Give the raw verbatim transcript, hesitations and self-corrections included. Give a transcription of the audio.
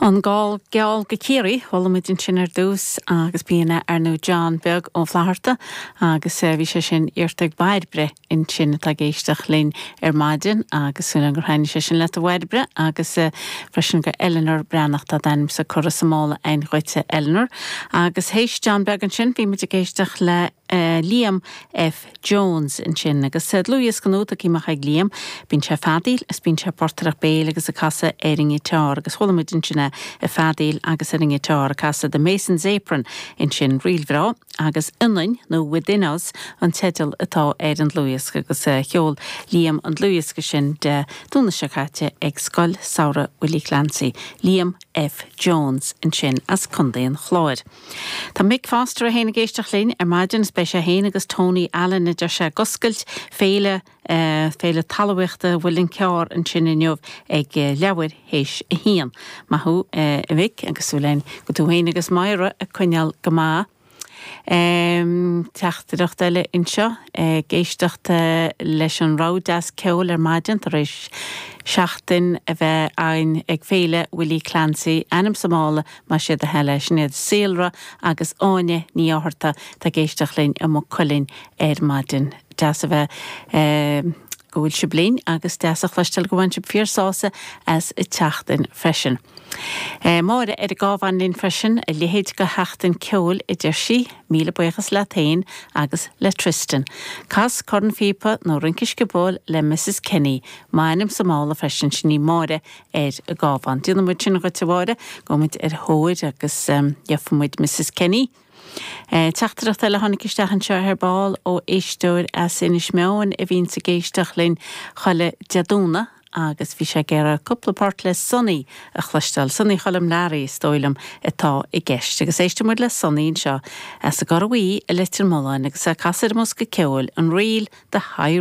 An Gall Geal go Ciarraí chuala muid ansin ar dtús agus b'in é ar ndóigh John Beag Ó Flatharta agus bhí sé sin iarrta ag Bairbre ansin atá ag éisteacht linn ar maidin agus súil gur thaitnigh sé sin leat a Bhairbre agus freisin go Eleanor Breathnach tá d'ainmse curtha sa mála againn dhuitse Eleanor agus théis John Beag ansin bhí muid ag éisteacht le uh, Liam F. Jones ansin agus dlúthdhiosca nua tagtha amach ag Liam, bíonn sé feadaíl is bíonn sé portaireacht béil agus ag casadh ar an ngiotár agus chuala muid ansin ag feadaíl agus ar an ngiotár ag casadh The Mason's Apron ansin ríl bhreá agus ionainn nó Within Us an teideal atá ar an dlúthdhiosca agus uh, cheol Liam an dlúthdhiosca sin Dé Domhnaigh seo caite ag Scoil Samhraidh Willie Clancy, Liam F. Jones ansin as Contae an Chláir. Tá Mick Foster a héana géisteach linn ar maidin is beidh sé féin agus Tony Allen a deir sé ag oscailt féile uh, féile talmhaíochta Mhuileann Cearr ansin inniu ag uh, leathuair théis a haon. Maith thú uh, a Mhick agus súil go bhfuil tú féin agus Máire ag coinneáil go maith. Um, Teachtaireacht eile anseo ag éisteacht leis an rogha deas ceoil ar maidin tar éis seachtain a bheith ann ag féile Willie Clancy ainm sa mála mar sé a heile sin iad Saolra agus Áine Ní Fhátharta tá ag éisteacht linn i Maigh Cuilinn ar maidin. Deas a bheith um, go bhfuil sibh linn agus deas a chloisteáil go bhfuil sibh fíor sásta as an tseachtain freisin. E, Máire ar an gCabhán linn freisin a leithéid de sheachtain ceoil a deir sí, míle buíochas leat féin agus le Tristan. Cas cornphíopa nó rince sciobóil le Mrs Kenny, m'ainm sa mála freisin sin í Máire ar an gCabhán. Déanfaidh muid sin dhuit a Mháire, gabhfaidh muid ar thóir agus um, gheobhaidh muid Mrs Kenny. E, Teachtaireacht eile tháinig isteach anseo ar ball ó éisteoir as Inis Meáin a bhíonn ag éisteacht linn chuile Dé Domhnaigh agus bhí sé ag iarraidh cúpla port le Sonny a chloisteáil Sonny Choilm Learaí is dóigh liom atá i gceist agus éistfidh muid le Sonny anseo as an gCorr Bhuí i Leitir Mealláin agus a casadh ar an mbosca ceoil an ríl The High